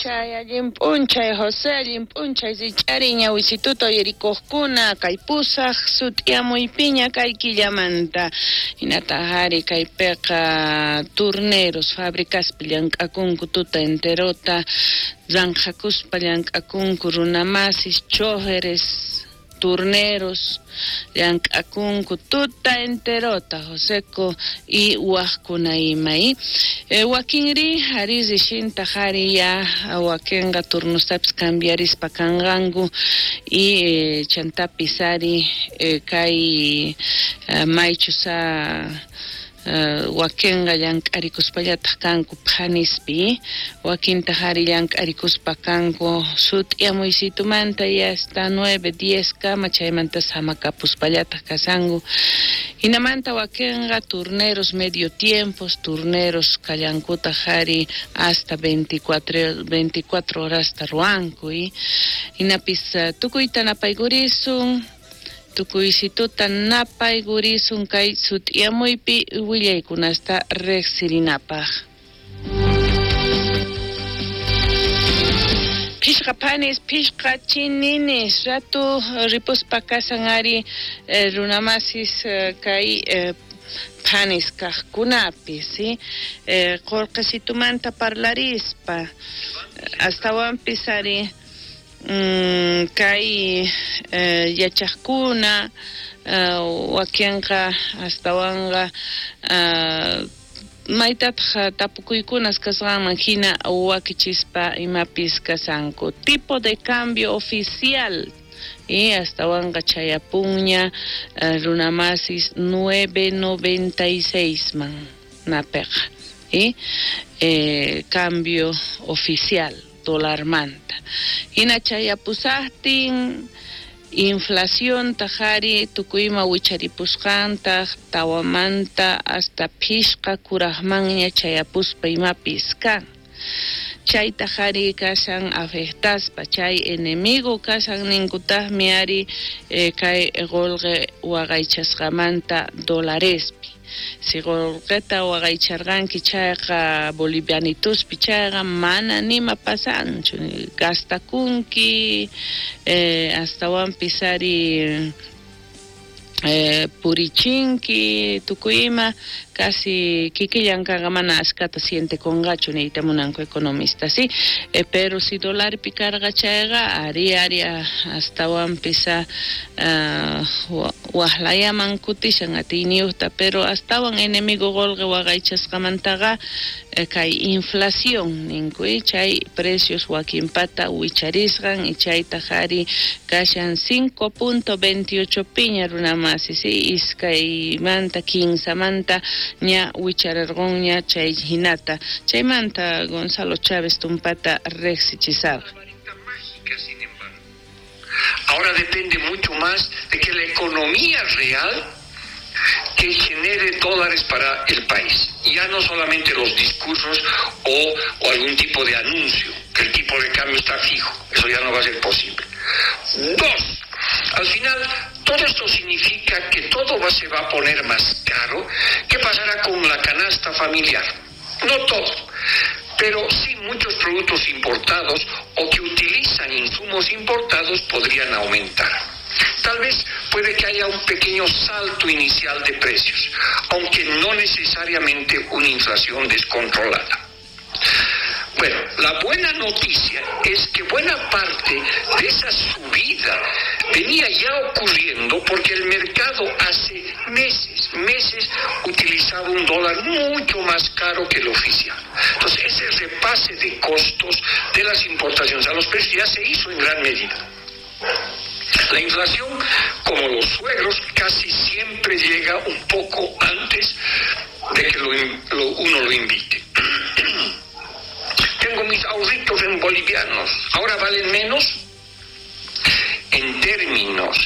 P'unchay, allin p'unchay, José, allin p'unchay, rich'ari ñawisituta uyarikuqkuna, kay pusaq sut'iyamuypiña kay killamanta. Hinataq ari kaypiqa turneros fabricaspi llank'akunku tuta enterota, ranqhakuspa llank'akunku runamasis, choferes, turneros llank'akunku tuta enterota, Joseco y wajkuna ima. Wakinri ari rishintaq ari ya wakinqa turnostapis cambiarispa kanqanku y chantapis ari kay maychus wakinqa llank'arikuspallataq kanku phanispi, wakintaq ari llank'arikuspa kanku sut'iyamuysitumanta y hasta 9, 10 kama chaymanta samakapuspallataq kasanku. Hinamanta wakinqa turneros medio tiempos, turneros kallankutaq ari hasta 24 horasta ruwanku. Hinapis tukuyta napaykurisun, tukuysituta napaykurisun kay sut'iyamuypi willaykunasta riqsirinapaq. Phishqa phanis, phishqa chininis, ratu ripuspa kasan ari runamasis kay phanis kaqkunapi, ¿sí? Qolqesitumanta parlarispa, astawanpis ari kay yachaqkuna wakinqa astawanqa maytataq tapukuykunas kasqanman hina wakichispa imapis kasanku. Tipo de cambio oficial y astawanqa chayapunña runamasis 9.96 man napeqa y cambio oficial dolarmanta. Hina chayapusaqtin inflación tajari tukuyma wicharipusqantaq tawamanta hasta phishqa kuraqmanña chayapuspa imapis kan. Chaytaq ari kashan afectaspa, chay enemigo kashan ninkutaqmi ari kay qolqe waqaychasqamanta dolarespi. Si qolqeta waqaycharqanki chayqa bolivianituspi chayqa mana nima pasanchu, gastakunki, astawanpis ari purichinki, tukuyima, casi kikillankaqa mana ashkata sientekunqachu niyta munanku economista, ¿sí? Pero si dolarpi karqa chayqa ari ari astawanpis waqlayaman kutishan atiyniyuqta, pero astawan enemigo qolqe waqaychasqamantaqa kay inflación ninku, chay precios wakinpata wicharisqan y chaytaq ari kashan 5.28 piña runamasi, ¿sí? Iskaymanta kinsamanta ña wichararqunña chay hinata. Chaymanta Gonzalo Chávez tumpata riqsichisarqa. Ahora depende mucho más de que la economía real que genere dólares para el país. Ya no solamente los discursos o algún tipo de anuncio, que el tipo de cambio está fijo, eso ya no va a ser posible. Dos, al final, todo esto significa que todo se va a poner más caro. ¿Qué pasará con la canasta familiar? No todo, pero sí muchos productos importados o que utilizan insumos importados podrían aumentar. Tal vez puede que haya un pequeño salto inicial de precios, aunque no necesariamente una inflación descontrolada. Bueno, la buena noticia es que buena parte de esa subida venía ya ocurriendo porque el mercado hace meses utilizaba un dólar mucho más caro que el oficial. Entonces, ese repase de costos de las importaciones a los precios ya se hizo en gran medida. La inflación, como los suegros, casi siempre llega un poco antes de que uno lo invite. Tengo mis ahorritos en bolivianos, ¿ahora valen menos? En términos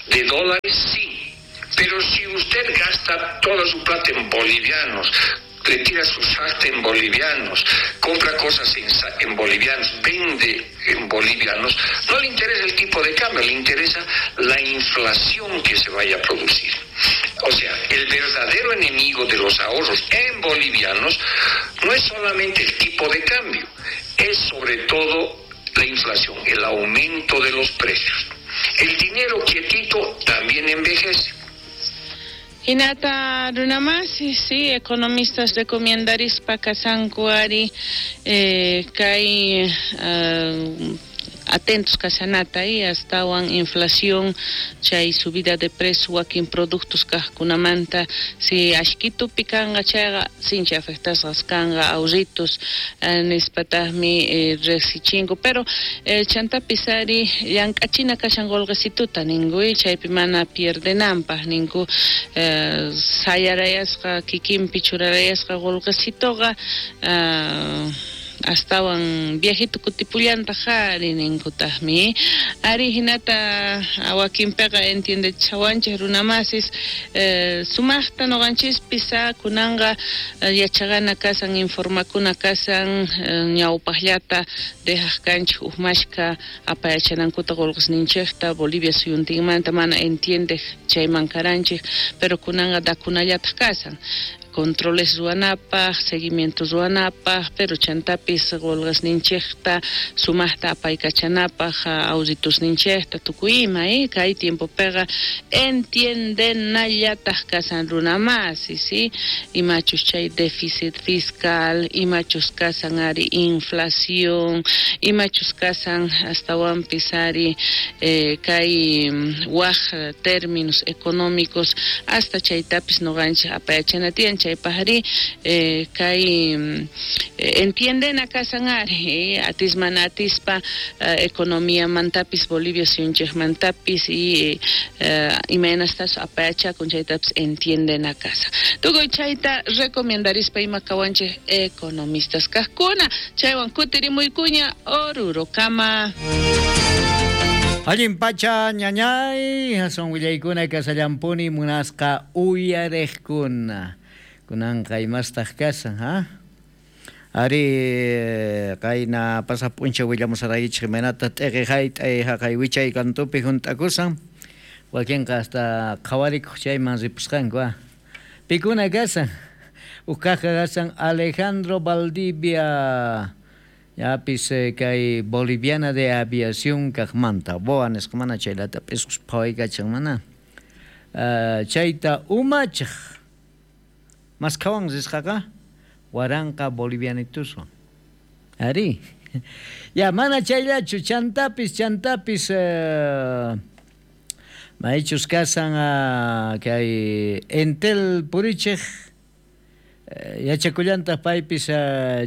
de dólares, sí. Pero si usted gasta toda su plata en bolivianos, retira su sarta en bolivianos, compra cosas en bolivianos, vende en bolivianos, no le interesa el tipo de cambio, le interesa la inflación que se vaya a producir. O sea, el verdadero enemigo de los ahorros en bolivianos no es solamente el tipo de cambio, es sobre todo la inflación, el aumento de los precios. El dinero quietito también envejece. Hinata runamasi, sí, economistas recomendarispa kasanku ari kay atentos kashanata y astawan inflación chay subida de precio wakin productos kajkunamanta si ashkitupi kanqa chayqa sinchi afectasqas kanqa ahorritos nispataqmi riqsichinku pero chantapis ari llank'achina kashan qolqesituta ninku chaypi mana pierdenanpaq ninku sayarayasqa kikinpi churarayasqa qolqesitoqa astawan viejito kutipullantaq ari ninkutaqmi ari hinata wakinpiqa entiendechawanchik runamasis sumaqta noqanchispis kunanqa yachaqana kasan informakuna kasan ñawpaqllata dejaq kanchik uqmashka apayachanankuta qolqesninchikta Bolivia suyuntinmanta mana entiendeq chayman karanchik pero kunanqa dakunallataq kasan controles ruwanapaq, seguimiento ruwanapaq, pero chantapis qolqesninchikta sumaqta apaykachanapaq, auditusninchikta tukuy ima, kay tiempopiqa entiendenallataq kasan runamasi, ¿sí? Imachus chay déficit fiscal, imachus kasan ari inflación, imachus kasan astawanpis ari kay waj términos económicos, hasta chaytapis noqanchik apayachana tiyan chaypaqri kay entienden kasan ari atis mana atispa economía mantapis Bolivia suyunchikmantapis y imaynastas apayachakun chaytapis entienden casa. Tukuy chayta recomendarispa ima kawanchik economistas kajkuna chaywan kutirimuykuña Orurokama. Allin pacha ñañay hason willaykuna kasallampuni munasqa uyarejkuna. Kunanqa imastaq kasan, ha? Ari qayna pasaq p'unchaw willamusaraykichik imaynata t'iqi hayt'ay haqay wichay kantupi hunt'akusan wakinqa hasta qhawarikuq chayman ripusqanku, ha? Pikuna kasan? Uj kaqqa kasan Alejandro Valdivia yapis kay Boliviana de Aviación kaqmanta BOA nisqa mana chaylata p'isqus phawaykachan mana chayta umachaq maskhawan risqaqa waranqa bolivianituswan ari ya mana chayllachu chantapis maychus kasan kay Entel purichej yachakullantaq paypis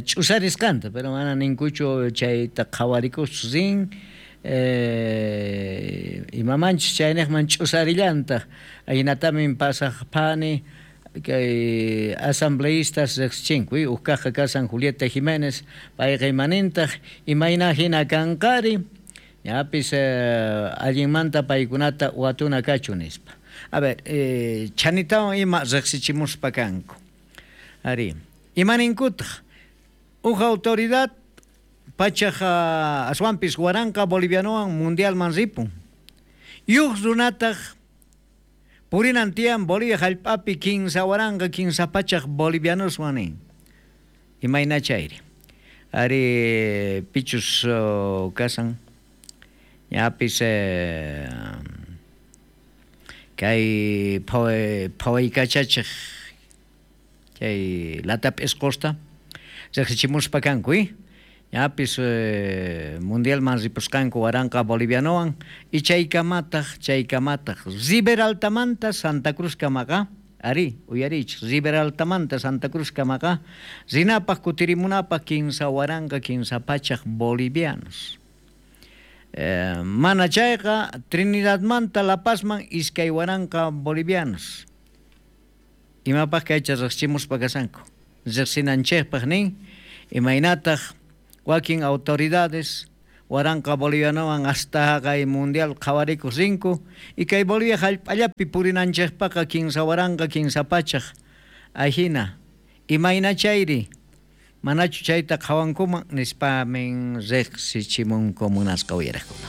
ch'usarisqanta pero mana ninkuchu chayta qhawarikus rin imamanchus chayniqman ch'usarillantaq ahinatamin pasaq phani kay asambleístas riqsichinku uj kaqqa kasan Julieta Jiménez payqa imanintaq imayna hina kanqari ñapis allinmanta paykunata watuna kachu nispa. A ver, chanitawan ima riqsichimuspa kanku. Ari, imaninkutaq uj autoridad pachaq aswanpis waranqa bolivianowan mundialman ripun. Yuj runataq purinan tiyan Bolivia hallp'api 15 waranqa 15 pachaq bolivianoswan nin. Imayna chayri. Ari pichus kasan ñapis kay phawaykachachej chay latap'isqusta riqsichimuspa kanku, ñapis mundialman ripusqanku waranqa bolivianowan y chaykamataq Riberaltamanta Santa Cruz kamaqa ari uyarichik Riberaltamanta Santa Cruz kamaqa rinapaq kutirimunapaq 15 waranqa 15 pachaq bolivianos. Mana chayqa Trinidadmanta La Pazman 2 waranqa bolivianos. Imapaq kaycha riqsichimuspa kasanku riqsinanchikpaq nin imaynataq wakin autoridades waranqa bolivianowan hasta haqay mundial qhawarikuq rinku y kay Bolivia hallp'allapi purinanchikpaqa 15 waranqa 15 pachaq ahina imayna chayri manachu chayta qhawankuman nispamin riqsichimunku munasqa uyariqkuna.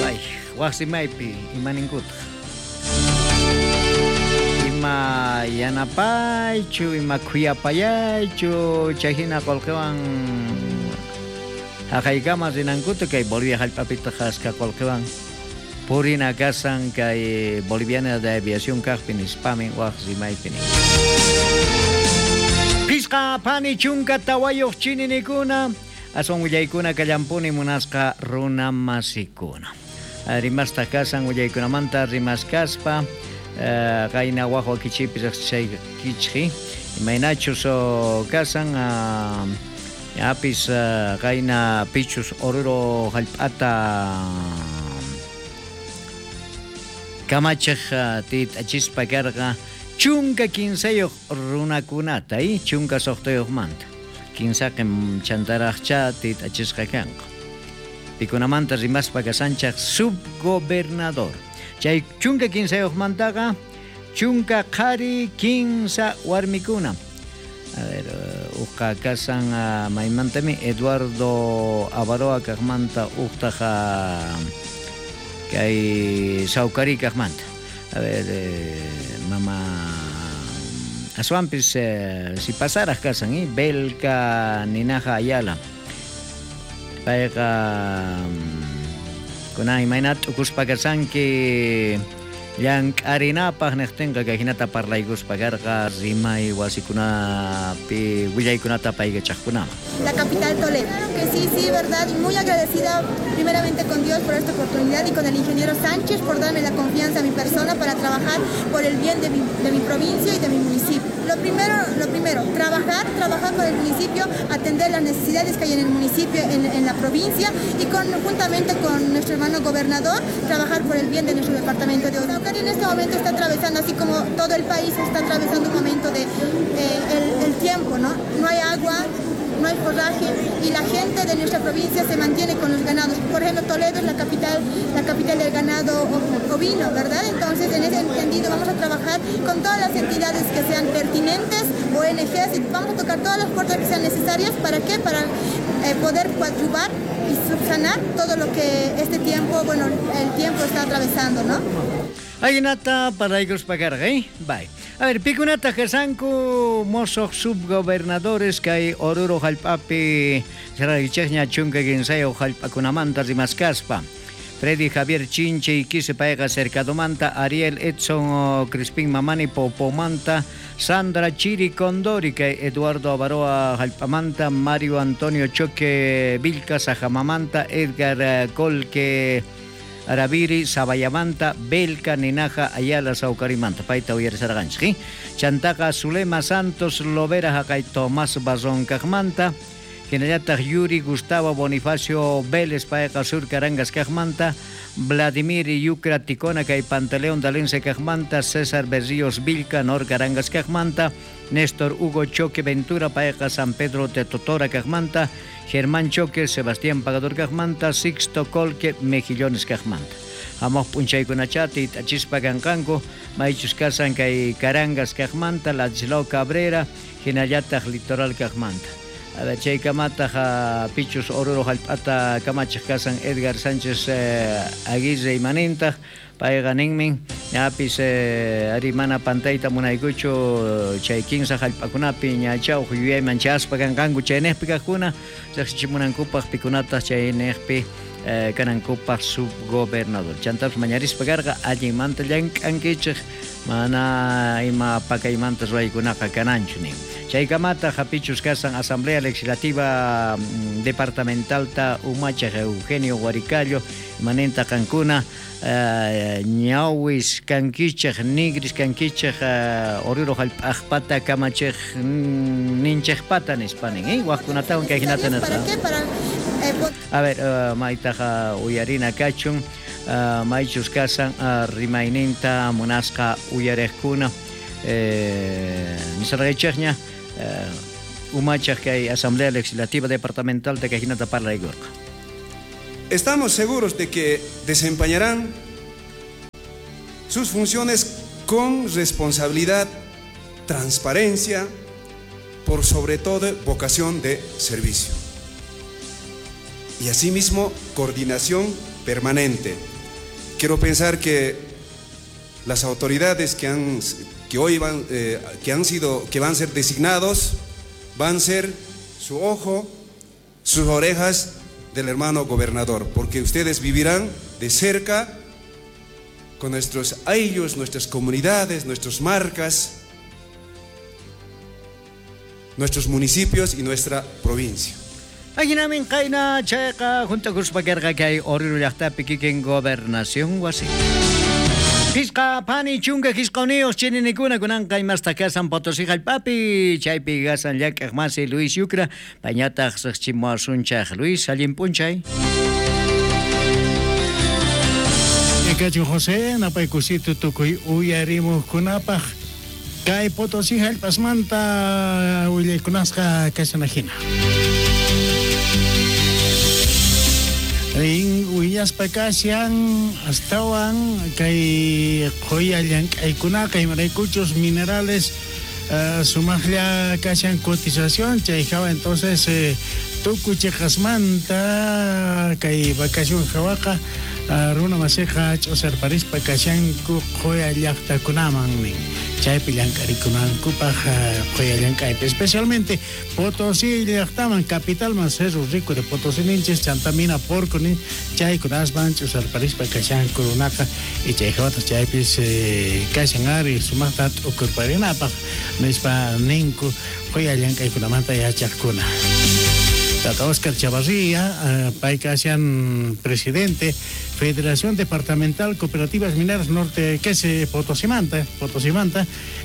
Ay, waqsimaypi imaninkutaq. Ima yanapaychu, ima khuyapayaychu, chayhina qullqiwan haqaykama rinankuta kay Bolivia hallp'apitaq askha qullqiwan purina kasan kay Boliviana de Aviación kaqpi nispamin waq rimaypi nin. Phisqa phani 14 chininikuna, aswan willaykuna kallampuni munasqa runa masikuna. Rimastaq kasan willaykunamanta rimaskaspa, qayna waq wakichiypi riqsichaykichik, imaynachus kasan ñapis qayna pichus Oruro hallp'ata kamachiq tit'achispa karqa 13 runakunata, 16 manta. Kinsaqin chantaraqcha tit'achisqa kanqa. Pikunamanta rimaspa kasanchaq subgobernador. Chay 13mantaqa 10 qhari 3 warmikuna. A ver, uqqa kasan maymantami Eduardo Avaroa kaqmanta uqtaq kay Saucari kaqmanta. A ver, mama aswanpis si pasaraq kasan, Belka Ninaja Ayala. Payqa kunan imayna t'ukuspa kasanki llank'arinapaq niqtinqa kay hinata parlaykuspa karqa rimay wasikunapi willaykunata paykachaqkunaman. La capital Toledo. Claro que sí, sí, verdad. Y muy agradecida primeramente con Dios por esta oportunidad y con el ingeniero Sánchez por darme la confianza a mi persona para trabajar por el bien de mi provincia y de mi municipio. Lo primero, trabajar, trabajar por el municipio, atender las necesidades que hay en el municipio, en la provincia y juntamente con nuestro hermano gobernador, trabajar por el bien de nuestro departamento de Oruro. En este momento está atravesando, así como todo el país está atravesando un momento de el tiempo, ¿no? No hay agua, no hay forraje y la gente de nuestra provincia se mantiene con los ganados. Por ejemplo, Toledo es la capital del ganado ovino, ¿verdad? Entonces, en ese entendido, vamos a trabajar con todas las entidades que sean pertinentes, ONGs, y vamos a tocar todas las puertas que sean necesarias. ¿Para qué? Para poder coadyuvar y subsanar todo lo que este tiempo, bueno, el tiempo está atravesando, ¿no? Ajinata parlaykuspa karqa, eh? Bye. A ver, pikunata kasanku mosoq subgobernadores kay Oruro hallp'api saraykichikña 13 hallp'akunamanta rimaskaspa. Freddy Javier Chinche Iquise payqa Cercadomanta, Ariel Edson Crispín Mamani Popomanta, Sandra Chiri Condori kay Eduardo Avaroa hallp'amanta, Mario Antonio Choque Vilca Sajamamanta, Edgar Colque Araviri Sabayamanta, Belka Ninaja Ayala Saucarimanta, payta uyarisarqanchik. Chantaqa Zulema Santos Lovera haqay Tomás Barrón kaqmanta, hinallataq Yuri Gustavo Bonifacio Vélez payqa Sur Carangas kaqmanta, Vladimir Yucra Ticona kay Pantaleón Dalense kaqmanta, César Berríos Vilca Nor Carangas kaqmanta, Néstor Hugo Choque Ventura payqa San Pedro de Totora kaqmanta, Germán Choque, Sebastián Pagador kaqmanta, Sixto Colque Mejillones kaqmanta. Hamuq p'unchaykunachá tit'achispa kanqanku, maychus kasan kay Carangas kaqmanta, Ladislao Cabrera, hinallataq Litoral kaqmanta. A ver, chaykamataq pichus Oruro hallp'ata kamachiq kasan Edgar Sánchez Aguirre imanintaq, payqa ninmin ñapis ari mana pantayta munaykuchu chay kinsa hallp'akunapi ñachaw yuyayman chaspa kanqanku chayniqpi kaqkuna riqsichimunankupaq pikunataq chayniqpi kanankupaq subgobernador. Chantapis mañarispa karqa allinmanta llank'ankichik mana ima pakaymanta ruwaykunaqa kananchu nin. Chaykamataq hapichus kasan Asamblea Legislativa Departamentalta umachaq Eugenio Huaricallo imaninta qankuna ñawis kankichik nigris kankichik Oruro hallp'aqpata kamachiq ninchikpata nispa nin, waqkunatawan kay hinata ¿Para nirqa. qué? Para A ver, maytaqa uyarina kachun, maychus kasan rimayninta munasqa uyariqkuna nisarqaychikña umachaq kay Asamblea Legislativa Departamental kay hinata parlaykurqa. Estamos seguros de que desempeñarán sus funciones con responsabilidad, transparencia, por sobre todo vocación de servicio. Y asimismo, coordinación permanente. Quiero pensar que las autoridades que que hoy van, que han sido, que van a ser designados, van a ser su ojo, sus orejas del hermano gobernador, porque ustedes vivirán de cerca con nuestros ayllus, nuestras comunidades, nuestras marcas, nuestros municipios y nuestra provincia. Ajinamin qayna chayqa juntakuspa karqa kay Oruro llaqtapi kikin gobernación wasi. Pisqa pani chunka qisquniyuq chininikuna kunanqa imasta kasan Potosí hallp'api chaypi gasan llank'aq masi Luis Yucra payñataq riqchimuwasunchaq. Luis, allin p'unchay. Kachun José, napaykusito tukuy uyarimuqkunapaq kay Potosí hallp'asmanta willaykunasqa kashanajina. Rin willaspa kashan astawan kay qhuya llank'aykunaqa imaraykuchus minerales sumaqlla kashan cotización chay hawa entonces tukuy chiqasmanta kay vacación hawaqa runa masiqa ch'usarparispa kashanku qhuya llaqtakunaman nin chaypi llank'arikunankupaq qhuya llank'aypi especialmente Potosí llaqtaman capitalman Cerro Rico de Potosí ninchis chanta mina Porco nin chaykunasman ch'usarparispa kashanku runaqa y chay hawataq chaypis kashan ari sumaqta t'ukurparinapaq nispa ninku qhuya llank'aykunamanta yachaqkuna. Tata Oscar Chavarría, pay kashan presidente Federación Departamental Cooperativas Mineras Norte, que es Potosimanta,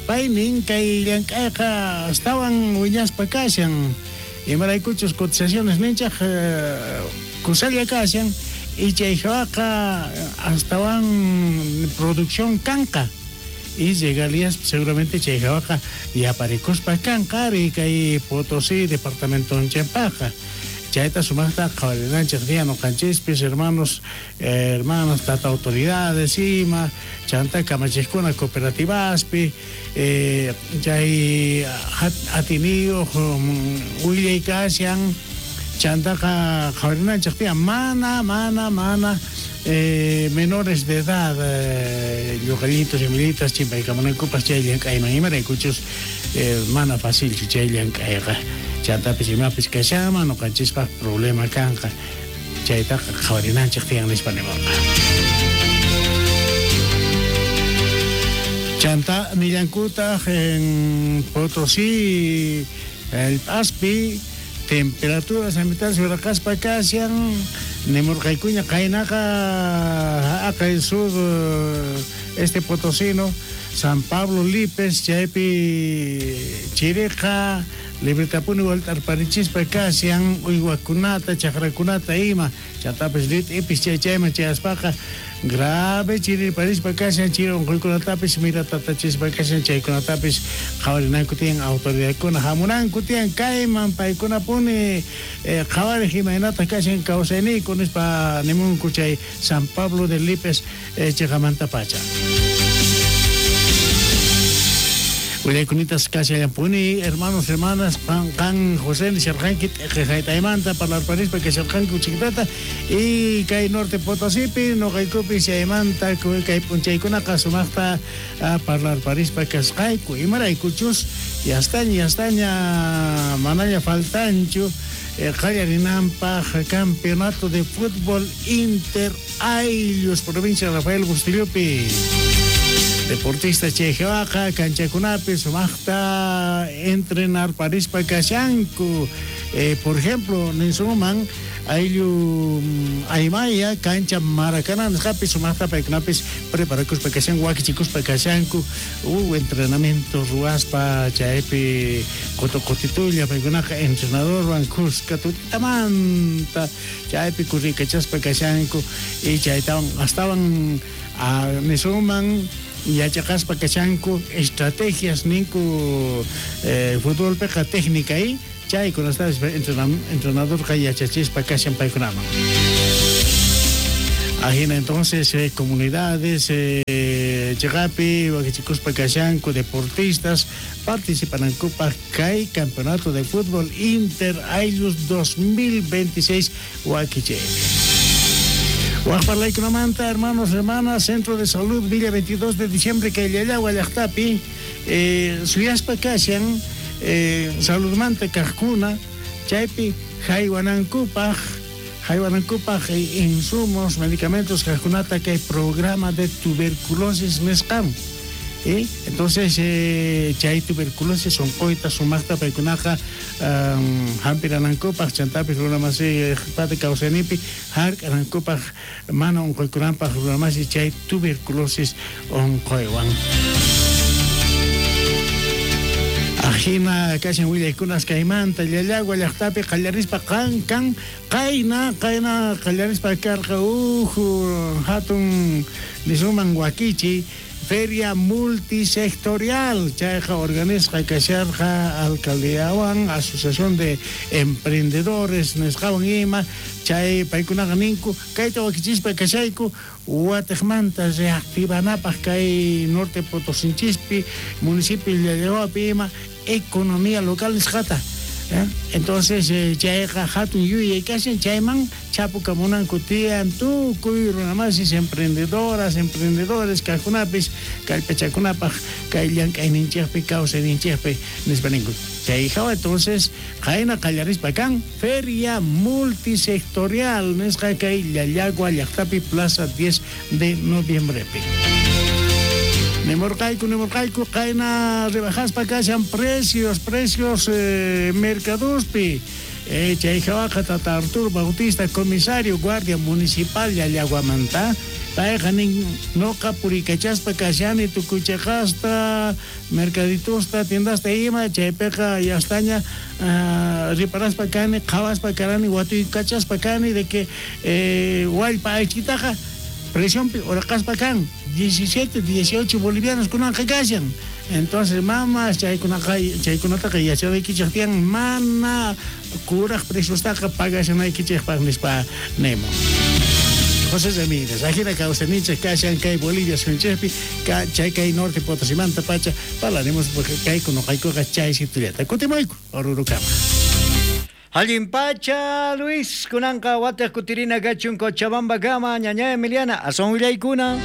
pay nin kay llank'ayqa astawan wiñaspa kashan imaraykuchus cotizaciones ninchaq kusalla kashan y chay hawaqa astawan producción kanqa y regalías seguramente chay hawaqa yaparikuspa kanqa ari kay Potosí departamento nchaypaqa. Chayta sumaqta qhawarinanchik día nuqanchispis hermanos, hermanas, tata autoridades ima, chanta kamachiqkuna cooperativaspi, chay atiniyuq willay kashan, chantaqa qhawarinanchik tiyan mana menores de edad, lluqallitos y militas chimpaykamunankupas chay llank'ayman imaraykuchus mana facilchu chay llank'ayqa. Chantapis imapis kashanman nuqanchispaq problema kanqa chaytaqa qhawarinanchik tiyan nispa nimurqa. Chanta nillankutaq en Potosí hallp'aspi temperaturas ambientales wiraqaspa kashan nimurqaykuña qaynaqa haqay sur este potosino San Pablo Lipes chaypi chiriqa libretapuni walt'arparichispa kashan uywakunata chaqrakunata ima chantapis rit'ipis chay chayman chayaspaqa grave chirirparispa kashan chiri unquykunatapis miratatachispa kashan chaykunatapis qhawarinanku tiyan autoridadkuna hamunanku tiyan kayman paykunapuni qhawariq imaynataq kashan kawsayniyku nispa nimunku chay San Pablo de Lipes chiqamantapacha. Willaykunita kashallampuni hermanos, hermanas, qan José nisharqanki t'eqejaytaymanta parlarparispa kasharqanku chiqtata y kay norte Potosípi nuqaykupi chaymanta kay p'unchaykunaqa sumaqta parlarparispa kasqayku imaraykuchus yastaña manaña faltanchu qallarinanpaq campeonato de fútbol inter ayllus provincia Rafael Bustillopi. Deportista chay hawaqa kanchakunapi sumaqta entrenar parispa kashanku. Por ejemplo, ninsuman ayllu Aymaya cancha Maracaná nisqapi sumaqta paykunapis preparakuspa kashanku wakichikuspa kashanku entrenamiento ruwaspa chaypi qutitulla paykunaqa entrenadorwan kuska tutitamanta chaypi kurrikachaspa kashanku y chaytawan astawan nisuman yachaqaspa kashanku estrategias ninku futbolpiqa técnica y chaykunastapis entrenadorqa yachachispa kashan paykunaman. Ajina entonces comunidades chiqapi wakichikuspa kashanku deportistas participanankupaq kay campeonato de fútbol Inter Ayllus 2026 wakichaypi. Waqparlaykunamanta, hermanos, hermanas, Centro de Salud Villa 22 de diciembre, kay Llallagua llaqtapi, Suyaspa kashan saludmanta kajkuna chaypi haywanankupaj insumos, medicamentos kajkunata kay programa de tuberculosis nisqan. Entonces chay tuberculosis onqoyta sumaqta paykunaqa hampiranankupaj chantapis runamasi pata kawsayninpi hark'anankupaj mana onqoykunanpaj runamasi chay tuberculosis onqoywan. Ajina kashan willaykunas kaymanta Llallagua llaqtapi qallarispa kan qayna qallarispa karqa hatun nisuman wakichi feria multisectorial chayqa organizqa kasharqa alcaldiawan asociación de emprendedores nisqawan ima chay paykunaqa ninku kayta wakichispa kashayku watejmanta reactivanapaj kay norte Potosinchispi municipio Llallaguapi ima economía local nisqata. Entonces chayqa hatun yuyay kashan chayman chapukamunanku tiyan tukuy runamasis emprendedoras, emprendedores kajkunapis kallpachakunapaj kay llank'ayninchikpi kawsayninchikpi nispa ninku. Chay hawa entonces qayna qallarispa kan feria multisectorial nisqa kay Llallagua llaqtapi plaza 10 de noviembrepi. Nemorqayku qayna rebajaspa kashan precios mercadospi. Chay hawaqa tata Arturo Bautista, comisario guardia municipal Llallaguamanta, payqa nin noqa purikachaspa kashani tukuy cheqasta mercaditosta tiendasta ima chaypiqa yastaña riparaspa kani qhawaspa karani watuykachaspa kani de que wallpa aychitaqa presionpi uraqaspa kan 17, 18 bolivianos kunanqa kashan. Entonces mamas chaykunataqa yachanaykichik tiyan mana kuraj preciostaqa pagashanaykichikpaq nispa nemo. José Ramírez, ajina kawsayninchik kashan kay Bolivia suyunchikpi chay kay norte Potosimanta pacha parlaremos porque kayku noqaykuqa chay situllata kutimuyku Orurukama. Allin pacha Luis kunanqa watej kutirina kachun Cochabamba kama ñaña Emiliana aswan willaykuna.